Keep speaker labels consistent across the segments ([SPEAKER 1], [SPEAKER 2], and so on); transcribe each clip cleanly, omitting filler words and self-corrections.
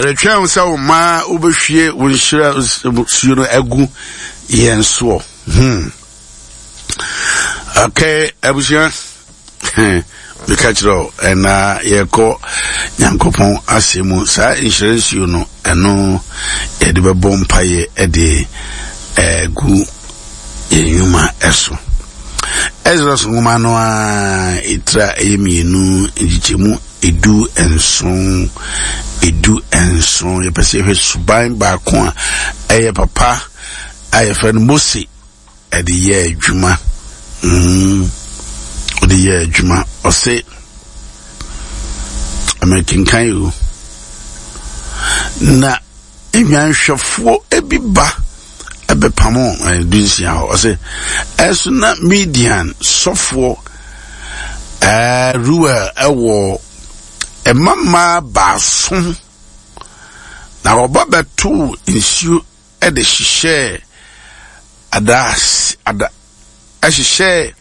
[SPEAKER 1] Yɛretwɛn wo sɛ wo mma wobɛhwie wo nhyira suo no agu yɛn soɔ. Hmm. Okay, abusua. Meka kyerɛ wo, ɛna yɛkɔ Nyankopɔn asɛm mu. Saa nhyira nsuo no, ɛno yɛde bɛbɔ mpaeɛ ɛde ɛgu yɛn nnwuma ɛso. Exodus nwoma no a ɛtira ɛyɛ mmienu nkyekyɛmu 17, 17. Yɛpɛ sɛ yɛhwɛ suban baako a ɛyɛ papa a yɛfrɛ no Mose ɛde yɛ adwuma. Mm, ɔde yɛ adwuma. Ɔse, amekenkan o. Na nnwanhwɛfoɔ bi ba ɛbɛpamo 16 hɔ. Ɔse, ɛso na Midian sɔfoɔ Reuel ɛwɔ mmammaa baason, na wɔba bɛtoo nsuo de hyehyɛɛ adaase ada hyehyɛɛ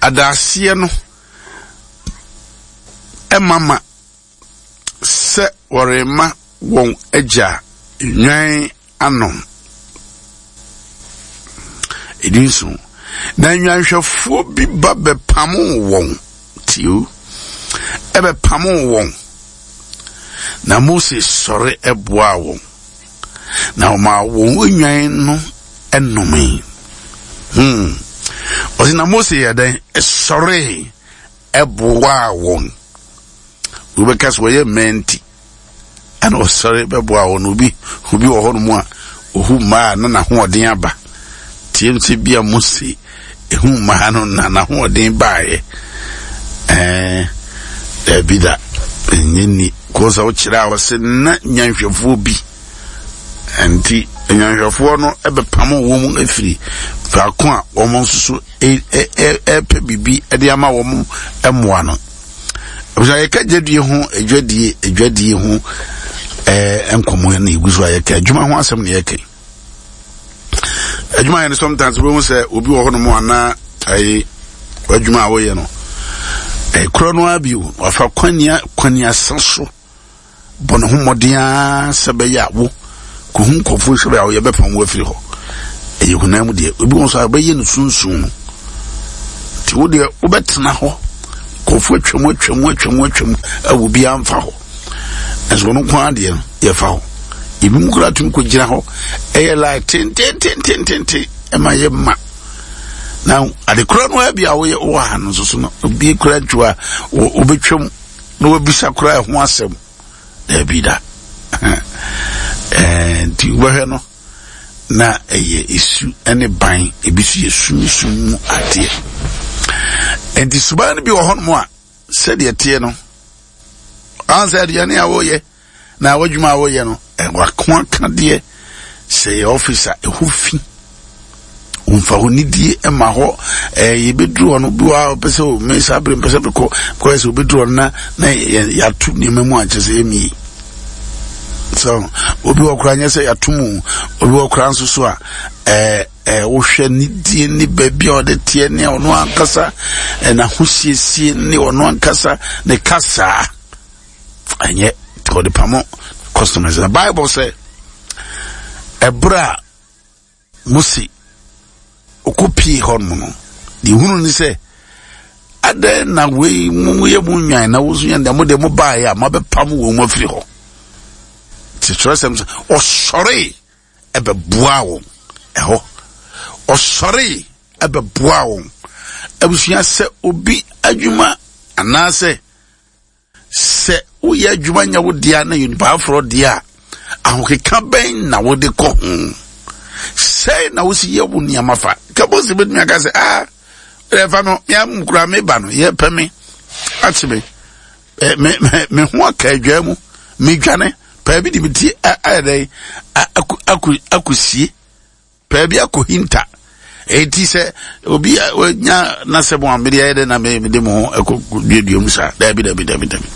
[SPEAKER 1] adaaseɛ no mama sɛ wɔrema wɔn agya nnwan anom. 17. Na nnwanhwɛfoɔ bi ba bɛpamoo wɔn, tio, ɛbɛpamoo wɔn. Na Mose sɔre boaa wɔn, na ɔmaa wɔn nnwan no nomee. Hmm. Ɔse na Mose yɛ dɛn? Ɛsɔre boaa wɔn. Wobɛka sɛ wɔyɛ mmaa nti ɛna ɔsɔre bɛboa wɔn. Obi obi wɔ hɔnom a ohu mmaa na n'ahoɔden aba. Tie sɛ bi a Mose ehu mmaa no na n'ahoɔden baeɛ. Ɛɛ daabi da ɛnyɛ ni kɔɔ sɛ wokyerɛ a wɔsɛ na nyanhwɛfoɔ bi nti nyanhwɛfoɔ no bɛpamo wɔn afiri faako a wɔn nso so ɛpɛ biribi de ama wɔn mmoa no. Abusua yɛka dwadie ho adwadie adwadie ho ɛɛ nkɔmɔ na egu so a yɛka adwuma ho asɛm na yɛka adwuma yɛ no sometimes wobɛhu sɛ obi wɔ hɔnom anaa ɛyi adwuma a wɔyɛ no ɛkorɔ no ara bio wafa kwania kwaniasa so Bɔ ne ho mmɔden ara sɛ ɛbɛyɛ a wo kɔhu nkurɔfoɔ sɛ ɛbɛyɛ a yɛbɛpam wo afiri hɔ. Ɛyɛ honam mu deɛ. Ebi wɔ nso a ɛbɛyɛ no sunsun no. Nti wo deɛ wobɛtena hɔ. Nkurɔfoɔ atwam atwam atwam atwam a obiara mfa hɔ. Nso ɔno nko ara deɛ no yɛfa hɔ. Ebinom koraa tumi kɔgyina hɔ ɛyɛ line tentententententen ɛma yɛ ma. Na adekora no ara bi a woyɛ wɔ ha no nso so no obi kura ntwo a wobɛtwam na wabisa koraa ɛho asɛm daabi da nti wobɛhwɛ no na ɛyɛ esu ne ban ebi so yɛ sunsum mu adeɛ nti suban no bi wɔ hɔnom a sɛdeɛ teɛ no ansɛ aduane a wɔyɛ Na w'adwuma a woyɛ no, w'ako akadeɛ, sɛ yɛ ɔfis a, ɛhɔ fi. Womfa hɔ nidie ma hɔ. Ɛɛ yɛbɛduru hɔ no, bi wɔ a ɔpɛ sɛ o me saa bere mpɛ sɛ mekɔ. Kɔyɛ sɛ obɛduru hɔ no na na yɛato nneɛma mu ankyɛ sɛ ɛmie. So obi wɔ koraa nyɛ sɛ yɛato mu, obi wɔ koraa nso so a ɛɛ ɛɛ wohwɛ nidie ne baabi a ɔde teɛ ne ɔno ankasa n'ahosiesie ne ɔno ankasa ne kasaa. Ɛnyɛ nti ɔde pamo customers. Na Bible sɛ ɛberɛ a Mose ɔkɔpie hɔ nom no, deɛ hunu ne sɛ adɛn na wei mo yɛ mo nwan na woso yɛn deɛ mo deɛ mo baeɛ a moabɛpam wɔn mu afiri hɔ. Nti twerɛsɛm sɛ ɔsɔree ɛbɛboaa wɔn ɛhɔ. Ɔsɔree ɛbɛboaa wɔn. Abusua sɛ obi adwuma anaasɛ Sɛ woyɛ adwuma nyɛ wo dea na yɛ nipa aforɔ deɛ a, ahokeka bɛn na wode kɔ ho? Sɛn na wosi yɛ wo nneɛma fa? Ka Mose bɛtumi aka sɛ, ah, ɛfa no, me amu koraa meba no, yɛpɛ me, akye me, me, me, me ho aka adwaa mu, medwane, paa bi de me ti ayɛ dɛn, akɔsie. Baabi akɔhinta. Enti sɛ obi a wanya n'asɛm a mede ayɛ dɛ na mede mo ho ɛkɔ duadua mu saa. Dabi, dabi, dabi, dabi.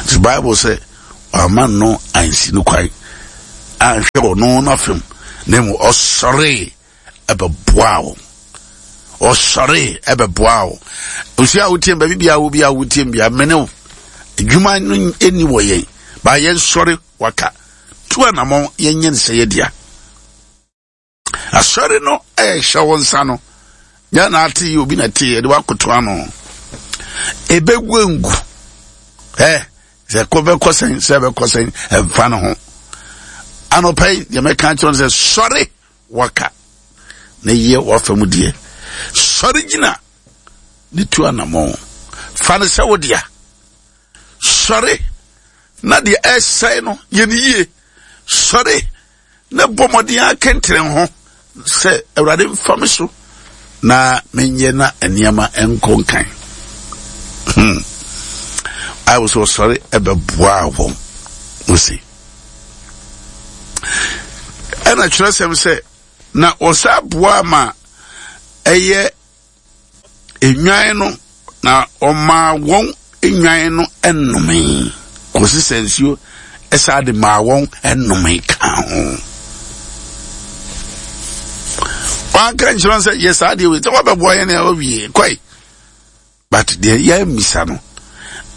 [SPEAKER 1] So Bible sɛ wama no ansi no kwan anhwɛ ɔno n'afam na mmom ɔsɔree ɛbɛboaa wɔn. Ɔsɔree ɛbɛboaa wɔn. Osi a wotie baabi biara wo bi a wotie bia mene wo. Adwuma no ɛni wɔ yɛn. Ba yɛnsɔre waka tu anamɔn yɛnyɛ no sɛ yɛdea. Asɔre no ɛhyɛ wo nsa no nyɛ na ate yi obi na te yɛde wakoto ano. Ebegu engu. Ɛ sɛ kɔ bɛkɔ sɛn sɛ bɛkɔ sɛn ɛmfa no ho. Anɔpa yi deɛ mɛka akyerɛ no sɛ sɔre waka na yɛ wafa mu deɛ. Sɔre gyina ne tu anamɔn. Fa no sɛ wo dea. Sɔre na deɛ ɛresɛe no yɛ no yie. Sɔre na bɔ mmɔden akɛntɛn ho sɛ Awurade mfa me so na menyɛ na nneɛma nkɔ nkan. Hmm. Bible sɛ ɔsɔre ɛbɛboaa wɔn. Mose. Ɛna kyerɛsɛm sɛ na ɔsa boa ma ɛyɛ nnwan no, na ɔmaa wɔn nnwan no nomee kɔsi sɛ nsuo ɛsaa de maa wɔn nomee kaa ho. Wanka nkyerɛ sɛ yɛ saa deɛ wei sɛ wɔbɛboa yɛn a wɔwie kɔe but deɛ yɛammisa no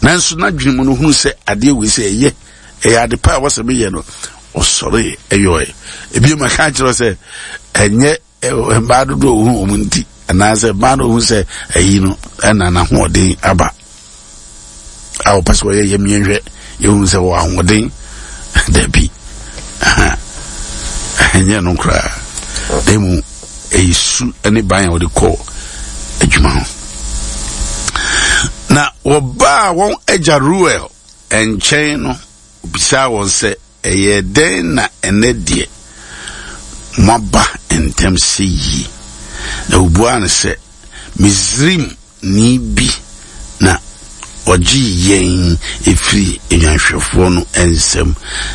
[SPEAKER 1] nanso n'adwene mu no hunu sɛ adeɛ wei sɛ ɛyɛ ɛyɛ ade pa a wɔsɛ meyɛ no ɔsɔre ɛyɔɛ ebien ma ka kyerɛ sɛ ɛnyɛ Mmaa dodoɔ a wɔhu wɔn nti anaasɛ mmaa no wɔhu sɛ ayi no ɛna n'ahoɔden aba a wɔpɛ sɛ wɔyɛ yɛm yɛnhwɛ yɛhu sɛ wɔ ahoɔden dabi ɛnyɛ no koraa na mu ɛyɛ su ne ban a wɔde kɔ adwuma ho na wɔbaa wɔn agya Ruel nkyɛn no obisaa wɔn sɛ Ɛyɛɛ dɛn na ɛnnɛ deɛ moaba ntɛm seyie? Na wɔbuaa no sɛ, Misraimni bi na ɔgyee yɛn firii nnwanhwɛfoɔ no nsam,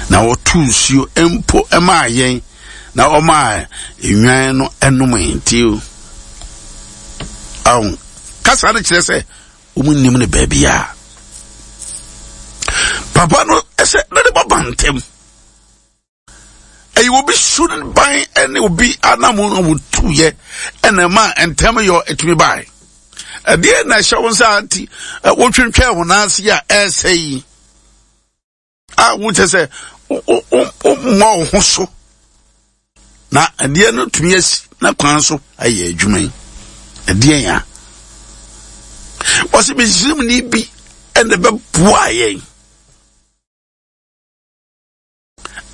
[SPEAKER 1] na ɔtoo nsuo mpo maa yɛn, na ɔmaa nnwan no nomee. Nti, ahu, kasa no kyerɛ sɛ wɔn nnim no baabiara papa no sɛ ne de bɔba ntɛm ɛyɛ obi su ne ban ne obi anam a wɔtuyɛ ɛna ɛma ntɛm yɔ ɛtumi bae ɛdeɛ na ɛhyɛ wo nsa nti wotwentwɛn wo nan ase a ɛresɛ yi a wokyɛ sɛ wommɔ wo ho so na adeɛ no tumi asi na kwan so ayɛ adwuma yi ɛdeɛ ya wɔsɛ misrimni bi ɛna ɛbɛboa yɛn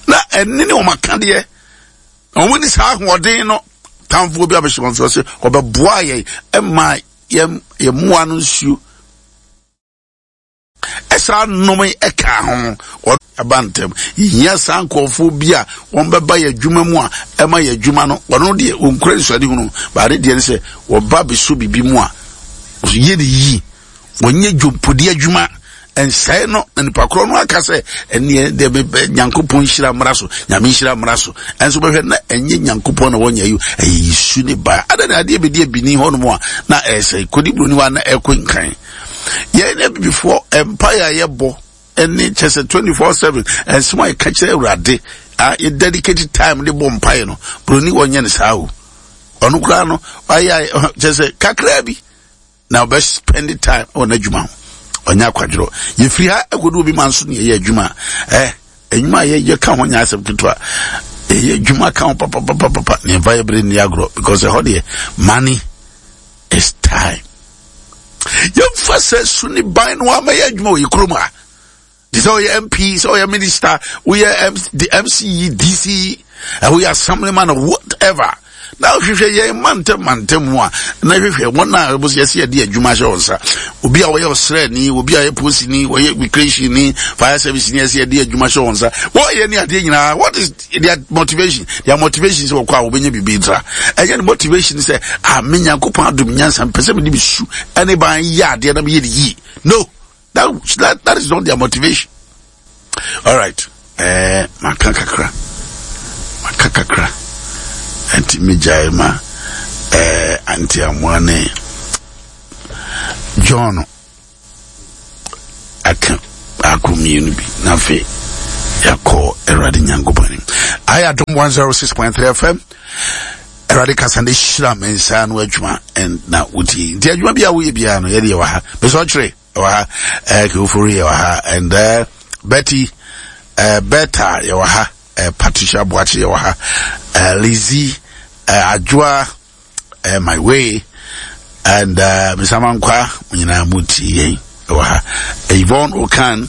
[SPEAKER 1] na ɛne ne wɔn akadeɛ na wɔn ni saa ahoɔden no tamfoɔ bi abɛhyɛ wɔn so ɔsɛ ɔbɛboa yɛn ɛma yɛn mmoa no nsuo Ɛsaa nnome ɛkaa ho aba ntɛm. Yɛhia saa nkurɔfoɔ bi a wɔn bɛba yɛ adwuma mu a ɛma yɛ adwuma no wɔn deɛ wɔnkura nsuadehunu baade deɛ ne sɛ wɔba bɛsɔ biribi mu a yɛ ne yie wɔnyɛ dwompodi adwuma nsɛe no na nipa korɔ no aka sɛ ɛneɛ deɛ mepɛ nyankopɔn nhyira mmra so nyame nhyira mmra so ɛnso bɛhwɛ na ɛnyɛ nyankopɔn na wɔnyɛ yi ɛyɛ yesu ne ba adɛn na adeɛ bɛdi abini hɔ nom a na ɛsɛ kɔdi buroni hɔ a na ɛkɔ nkan yɛn abibifoɔ mpaeɛ a yɛbɔ ɛne kyɛ sɛ 24/7 ɛnsɛm a yɛka kyerɛ awurade a yɛ dedicate time de bɔ mpaeɛ no buroni wɔnyɛ no saa o ɔno koraa no wayɛ kyɛ sɛ kakraa bi na ɔbɛ spend time wɔ n'adwuma ho ɔnyɛ akwadworɔ yɛfiri ha ɛkɔdu obi ma nso ne yɛyɛ adwuma ɛ adwuma a yɛyɛ ka ho nyɛ asɛm ketewa ɛyɛ adwuma ka ho papapapapa ne ɛmfa yɛ bere nni agorɔ because ɛhɔ deɛ money is time yɛmfa sɛ su ne ban no ama yɛ adwuma wɔ yɛ kurom a te sɛ ɔyɛ mp sɛ ɔyɛ minister woyɛ mce dc woyɛ assemblyman whatever na wohwehwɛ yɛn mantam mantam mu a na hwehwɛ wɔn a wɔsɛ yɛsɛ yɛde adwuma hyɛ wɔn nsa obi a wɔyɛ ɔsrɛni obi a ɔyɛ polisini wɔyɛ immigration ni fire service ni yɛsɛ yɛde adwuma hyɛ wɔn nsa wɔyɛ ne adeɛ nyinaa what is their motivation their motivation sɛ wɔkɔ a wɔbɛnya biribi ntra ɛnyɛ ne motivation sɛ ah me nyankopɔn adom nyansa mpɛ sɛ mede me su ɛne ban yɛ adeɛ na meyɛ ne yie no that, that, that is not their motivation all right eh, maka kakra maka kakra nti megyae ma eh, anti amoa ne john aka baako mmienu bi na afei yɛakɔ awurade nyankopɔn anim ayɛ adom 106.3 fm awurade kasa ne hyira me nsa no adwuma na wotie nti adwuma bi a woyɛ biara no yɛde yɛwɔ ha mesɛ ɔkyerɛ ɛwɔ ha eh, kewofori yɛwɔ ha and uh, betty Bertha yɛwɔ ha, Patricia Boakye yɛwɔ ha, Lizzie, Adwoa, My Way, and Mr. Mankwa, mo nyinaa mo tie yɛn ɛwɔ ha. Yvonne Okan,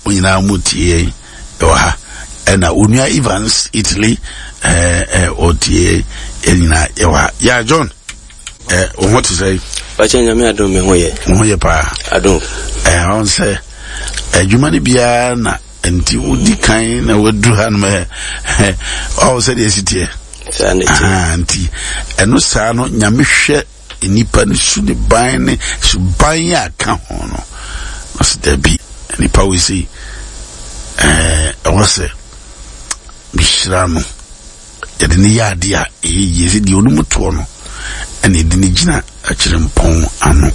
[SPEAKER 1] mo nyinaa mo tie yɛn ɛwɔ ha. Ɛna Onua Evans, Italy, ɔtie yɛn nyinaa yɛwɔ ha. Yeah, John. Eh, wo ho te sɛ?
[SPEAKER 2] Ɔkyɛ nyame adom me ho yɛ.
[SPEAKER 1] Wo ho yɛ paa.
[SPEAKER 2] Adom.
[SPEAKER 1] Eh, ɔn sɛ adwuma no biara na nti wodi kan na waduru ha nom ɛ ɔwɔ sɛ deɛ ɛsi teɛ.
[SPEAKER 2] Saa na ɛteɛ.
[SPEAKER 1] Nti ɛno saa no nyame hwɛ nipa no su ne ban ne suban a ka ho no. Ɔsɛ dabi nipa wei sei ɛɛ ɛwɔ sɛ mehyira no. Yɛde no yɛ adeɛ a ɛyɛ yie sɛ deɛ ɔnim toɔ no ɛna yɛde no gyina akyerɛmpɔn ano.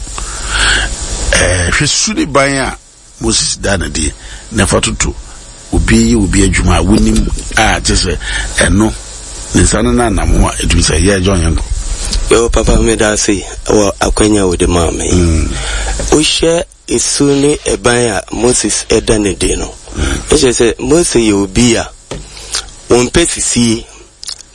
[SPEAKER 1] Ɛɛ hwɛ su ne ban a Moses da no deɛ na ɛfa toto obi yɛ obi adwuma a wonim a kyɛ sɛ ɛno ne nsa no nanam ho a ɛtumi sɛ yɛ John yɛnkɔ.
[SPEAKER 2] Yo papa meda ase wɔ akwanya wode maa me. Wohwɛ Su ne ban a Moses da no adi no kyerɛ sɛ Mose yɛ obi a ɔmpɛ sisie,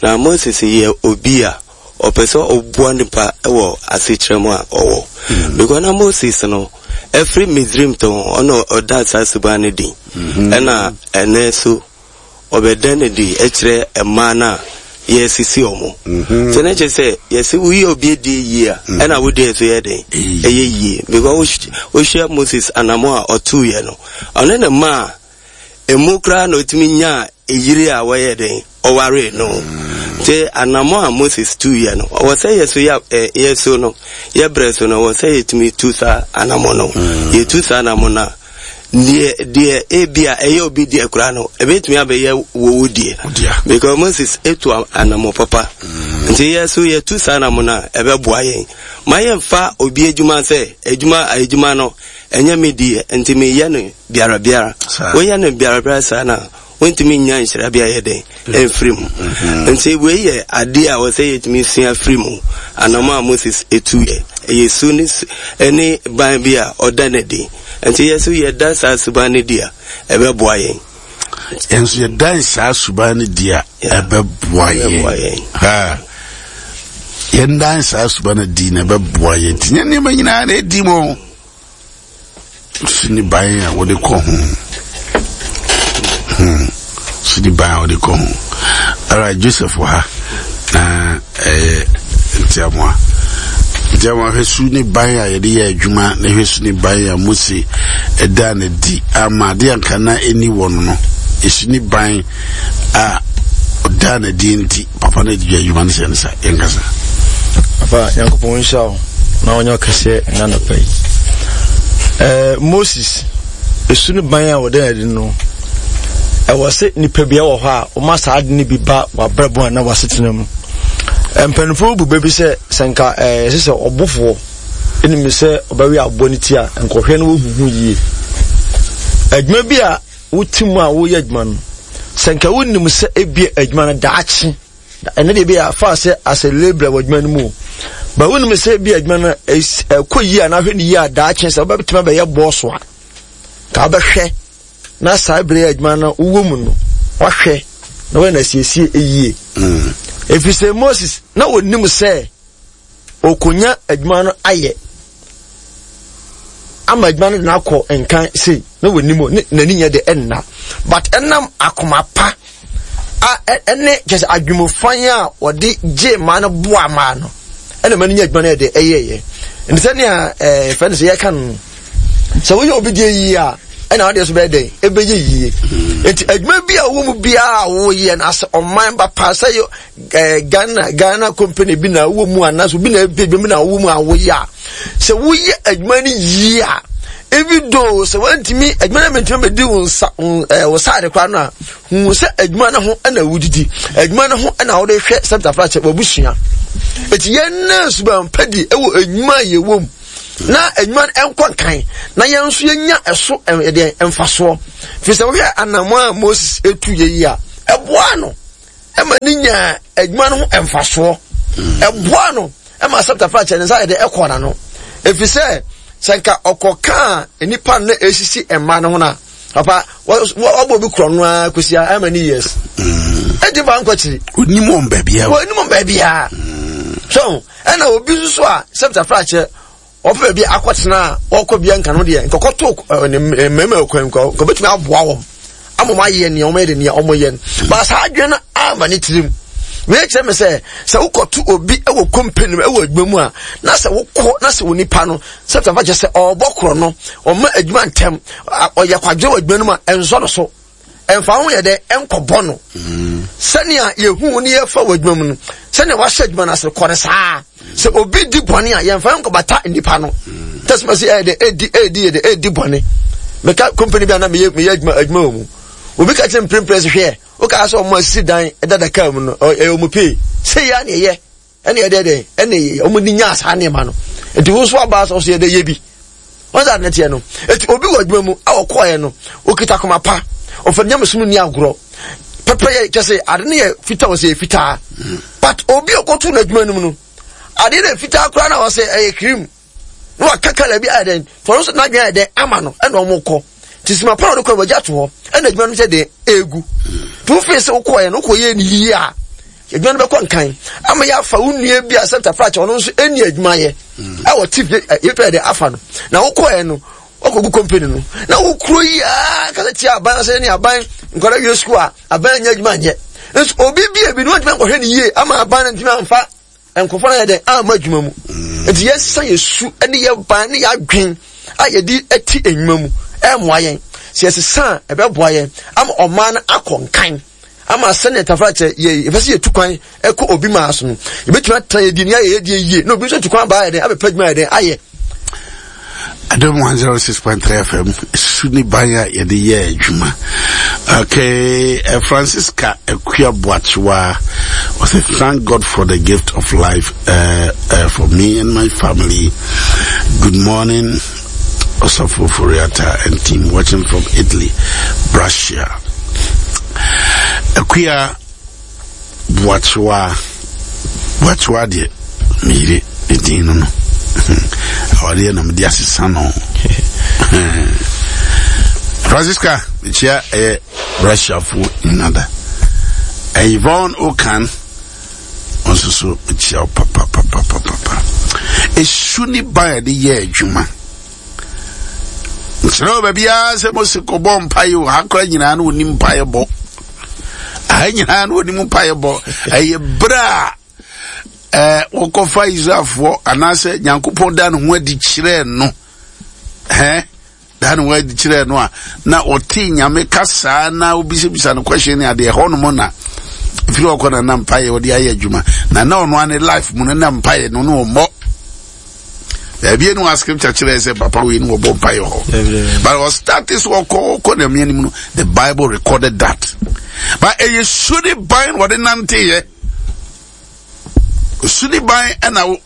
[SPEAKER 2] na Moses yɛ obi a ɔpɛ sɛ ɔboa nipa wɔ asekyerɛ mu a ɔwɔ. Because na Moses no, ɛfiri Misraim tɔn, ɔna ɔda saa suban no di. Ɛna ɛnɛ so ɔbɛda no adi kyerɛ mmaa no a yɛresisi wɔn. Mm-hmm. Sɛ na kyerɛ sɛ yɛsɛ woyɛ obi adie yie a mm. ɛna wo deɛ nso yɛ den ɛyɛ yie because wohwɛ Moses anamo a ɔtuiɛ no ɔne ne mma a emu koraa na ɔtumi nyaa eyiri a wɔyɛ den ɔwaree no mm. nti anamo a Moses tuiɛ no ɔwɔ sɛ yɛ so yɛ yɛ so no yɛ brɛ so no ɔwɔ sɛ yɛtumi tu saa anamo no mm. yɛtu saa anamo no a Deɛ deɛ ebia ɛyɛ obi deɛ koraa no ebetumi abɛyɛ wo wo deɛ because Moses etu anamɔ papa mm. nti yɛ so yɛtu saa anamɔ no a ɛbɛboa yɛn ma yɛnfa obi adwuma sɛ adwuma adwuma no ɛnyɛ me deɛ nti meyɛ no biara biara woyɛ no biara biara saa na wontumi nnya nhyira bi ayɛ dɛn ɛmfiri mu mm-hmm. nti wei yɛ adeɛ a wɔsɛ yɛtumi sua firi mu anamɔ a Moses ɛtu yɛ ɛyɛ su ne ɛne ban bi a ɔda no adi nti yɛ so yɛda saa suban no di a ɛbɛboa yɛn
[SPEAKER 1] yɛn nso yɛdan saa suban no di a ɛbɛboa yɛn yɛndan saa suban no di na ɛbɛboa yɛn nti nyɛ nneɛma nyinaa na ɛdi mu Sini ban a wɔde kɔ ho. Hmm. Sini ban a wɔde kɔ ho. Alright, Joseph wɔ ha. Na ɛyɛ ntiamoa. Ntiamoa hwɛ su ne ban a yɛde yɛ adwuma na hwɛ su ne ban a Mose ɛda ne di ama adeɛ anka na ɛni wɔ no no. Esu ne ban a ɔda ne di nti. Papa no adi adwuma no sɛ ne sa yɛnkasa.
[SPEAKER 3] Papa Nyankopɔn nhyira wo na ɔnyɛ ɔkɛseɛ ɛna anɔpa yi. Eh, Moses, esu no ban a wɔde adi no, ɛwɔ sɛ nipa bi wɔ hɔ a wɔma saa ade no bi ba w'abrabɔ anaa w'asetena mu. Mpanimfoɔ bu bɛ bi sɛ sɛ nka ɛsɛ eh, sɛ ɔbofoɔ ɛnim sɛ ɔbɛwe aboɔ no ti a nkɔhwɛ no wɔhuhu yie. Adwuma bi a wote mu a woyɛ adwuma no, sɛ nka wonim sɛ ebia adwuma no daakye, ɛnɛ deɛ ebia fa sɛ as a labourer wɔ adwuma no mu o, ba wonim sɛ ebia adwuma no ɛkɔ yie anaa hwɛ no yie a daakye sɛ wobɛtumi abɛyɛ bɔɔso a, ka wobɛhwɛ na saa bere adwuma no wowɔ mu no, wahwɛ na wɔyɛ no asiesie yie. Mm. Ɛfiri sɛ Moses na wɔnim sɛ ɔkɔnya adwuma no ayɛ ama adwuma no de no akɔ nkan sei na wɔnim ne n'ani nyɛ de ɛnna but ɛnam akoma pa a ɛne kyɛ sɛ adwumufan a wɔde gye mmaa no boa mmaa no ɛna mmaa no nya adwuma no yɛ de ɛyɛɛyɛ nti sɛnea ɛɛ fɛn sɛ yɛka no sɛ woyɛ obi deɛ yie a ɛna adeɛ so bɛyɛ dɛn ɛbɛyɛ yie nti adwuma bi a wɔ mu biara a woyɛ no asɛ ɔman ba paa sɛ yɛ eh, Ghana Ghana company bi na wowɔ mu anaasɛ obi na ɛbɛ bi na wowɔ mu a woyɛ a sɛ woyɛ adwuma no yie a even though sɛ wantumi adwuma no mɛntumi bɛdi wo nsa eh, wo saade koraa no a hu sɛ adwuma no ho na wodidi adwuma no ho na wode hwɛ sɛmtafra kyɛ wabusua ɛti yɛn na suban pa di ɛwɔ adwuma a yɛwɔ mu na adwuma no nkɔ nkan na yɛn nso yɛnya ɛso ɛdeɛ mfasoɔ firi sɛ wohwɛ anammɔn a Moses ɛtu yɛ yi a ɛboa no ɛma ne nyaa adwuma no ho mfasoɔ ɛboa no ɛma asɛmtafa kyɛ ne nsa yɛ de ɛkɔ n'ano ɛfiri sɛ sɛ nka ɔkɔkaa nnipa no na ɛsisi mma no ho no a Papa, wabɔ obi korɔ no ara kɔsi how many years? Ɛnti fa nkɔ akyiri.
[SPEAKER 1] Onim wɔn baabiara.
[SPEAKER 3] Onim wɔn baabiara. So, ɛna obi nso so a sɛ fratafra kyerɛ ɔpɛ baabi akɔtena a ɔkɔ bia nka no deɛ nkɔkɔto ne mmarima kwan nka ɔbɛtumi aboa wɔn ama wɔn ayɛ nea wɔn yɛ de nea wɔn yɛ no ba saa adwene no ama ne tirim. Wei kyerɛ me sɛ sɛ wokɔto obi wɔ company mu wɔ adwuma mu a na sɛ wokɔ na sɛ onipa no sɛ tafa kyerɛ sɛ ɔrebɔ korɔ no ɔma adwuma ntɛm ɔyɛ kwadwene wɔ adwuma no mu a ɛnsɔ no so ɛmfa ho yɛ dɛ ɛnkɔbɔ no mm. sɛnea yɛhu ne yɛfa wɔ adwuma mu no sɛnea wahyɛ adwuma no ase kɔ no saa sɛ obi di bɔne a yɛmfa nkɔbata nnipa no mm. tɛsima sɛ ɛyɛ dɛ ɛdi ɛdi yɛ dɛ ɛdi bɔne meka company bi a na meyɛ meyɛ adwuma adwuma wɔ mu obi ka kyerɛ mprempren sɛ hwɛ wokaa sɛ ɔmo asisi dan dada kaa mu no ɛyɛ ɔmo pay sɛ yɛ a na ɛyɛ ɛna ɛdɛ dɛn ɛna ɛyɛ ɔmo ni nyaa saa nneɛma no nti wo nso aba sɛ ɔso yɛ dɛ yɛ bi wɔn sɛ ade teɛ no eti obi wɔ adwuma mu a ɔkɔɛ no okita koma pa ɔfɛ nyamesom ni agorɔ pɛpɛ yɛ kyɛ sɛ ade no yɛ fitaa wɔ sɛ yɛ fitaa but obi a ɔkɔto n'adwuma no mu no ade no yɛ fitaa koraa na wɔ sɛ ɛyɛ cream na waka kala bi ayɛ dɛn fɔlɔ nso n'adwene ayɛ dɛn ama no ɛna wɔn kɔ te sima pa na ɔde kɔ wɔgye ato hɔ ɛna adwuma no sɛ dɛn egu te wofin sɛ wokɔ yɛ no wokɔ yɛ ne yie a adwuma no bɛkɔ nkan ama yɛ afa wo nua bi a sɛ tafra kyɛ ɔno nso ɛni adwuma yɛ ɛwɔ ti yɛ pɛ dɛ afa no na wokɔ yɛ no wakɔgu company no na wokuro yi aa kasa tia aban sɛ ne aban nkwadaa wie sukuu a aban nyɛ adwuma nyɛ nso obi bi ebi no ntumi nkɔhwɛ ne yie ama aban no ntumi amfa Nkurɔfoɔ no ayɛ dɛn amma adwuma mu. Nti yɛsesa yɛ su ne yɛ ban ne yɛ adwen a yɛde ti nnwuma mu ɛmmoa yɛn. Sɛ yɛsesa a ɛbɛboa yɛn ama ɔman no akɔ nkan ama sɛnea tafra kyɛ yɛ yɛpɛ sɛ yɛtu kwan ɛkɔ obi maa so no yɛbɛtumi atena yɛdi ne ayɛ yɛdeɛ yie na obi nso atu kwan baa yɛ dɛn abɛpɛ adwuma yɛ dɛn ayɛ.
[SPEAKER 1] Adom 106.3 FM su ne ban a yɛde yɛ adwuma. Okay, uh, Francisca Akua Boachewa was a thank God for the gift of life uh, uh, for me and my family. Good morning, Osafo Furiata and team watching from Italy, Brescia. Akua Boakyewa, Boakyewa deɛ me yere ne din no no. Awadeɛ na mede asesa no. Francisca, mekyia ɛyɛ Russiafoɔ nyina da. Yvonne Okan, ɔnso so mekyia wo papapapapapa. Esu ne ban a yɛde yɛ adwuma. Nkyerɛ wɔ baabiara sɛ Mose kɔbɔ mpaeɛ o, ha koraa nyinaa na ɔnim mpaeɛ bɔ. Aha nyinaa na ɔnim mpaeɛ bɔ. Ɛyɛ berɛ a ɛɛ wɔkɔfa Israelfoɔ anaasɛ Nyankopɔn da ne ho adi kyerɛɛ no. Hɛn da ne ho adi kyerɛɛ no a na ɔte Nyame kasaa na obisabisa no question ne adeɛ ɛhɔ nom na ɛfiri ɔkɔ na na mpaeɛ ɔde ayɛ adwuma na na ɔno ane life mu no na mpaeɛ no no ɔmmɔ baabi enu a scripture kyerɛ sɛ papa wei no wɔbɔ mpaeɛ hɔ but ɔstarte so ɔkɔ ɔkɔ na mmea no mu no the bible recorded that but ɛyɛ su ne ban wɔde nanteeɛ su ne ban ɛna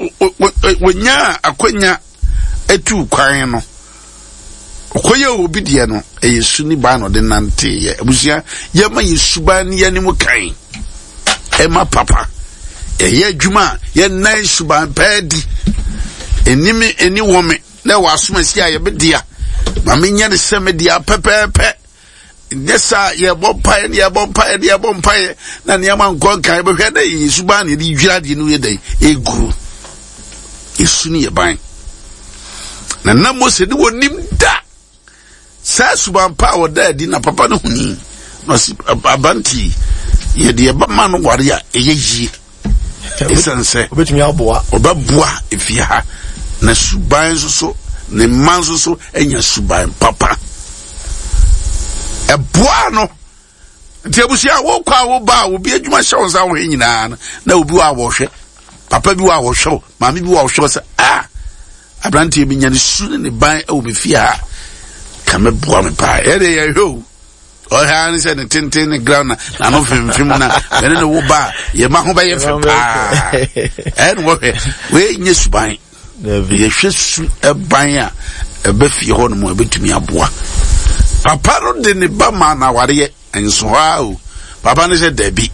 [SPEAKER 1] wɔnyaa akwanya etu kwan no ɔkɔyɛ obi deɛ no ɛyɛ su ne ban na ɔde nanteeɛ abusua yɛma yɛ suban ne yɛn kan ɛma papa yɛyɛ adwuma a yɛnnan suban pɛɛ di ɛni me ɛni wɔ me na ɛwɔ asomasi a yɛbɛdea ma menyɛ ne sɛ medea pɛpɛɛpɛ nyɛ saa yɛbɔ mpaeɛ ne yɛbɔ mpaeɛ ne yɛbɔ mpaeɛ na nneɛma nkɔ nkan bɛhwɛ na yɛ suban na yɛde dwira adeɛ no yɛ dɛn ɛgu yɛsu ne yɛ ban na na Mose ne wɔnim da saa suban pa a wɔda adi na papa no huni na ɔsi abante yi yɛde ɛba ma no ware a ɛyɛ yie ɛsiane sɛ
[SPEAKER 3] obetumi aboa
[SPEAKER 1] ɔbɛboa efie ha na suban nso so ne mma nso so anya suban papa ɛboa no nti abusua wokɔ a woba a obi adwuma hyɛ wo nsa wohwɛ nyinaa no na obi wɔ a wɔhwɛ papa bi wɔ a wɔhwɛ wo maame bi wɔ a wɔhwɛ wo sɛ ah aberanteɛ bi nya ne su ne ne ban wɔ me fie ha ka mɛboa me paa ɛdeɛ yɛhwɛ o ɔhwɛ ara ne sɛ ne tenten ne ground na n'ano femfem na ɛne ne wo ba a yɛma ho bɛyɛ fɛ paa ɛne wɔhwɛ wei nyɛ suban yɛhwɛ su ban a ɛbɛ fie hɔ nom a ɛbɛtumi aboa papa no de ne ba ma na awareɛ nso hɔ a o papa no sɛ dabi.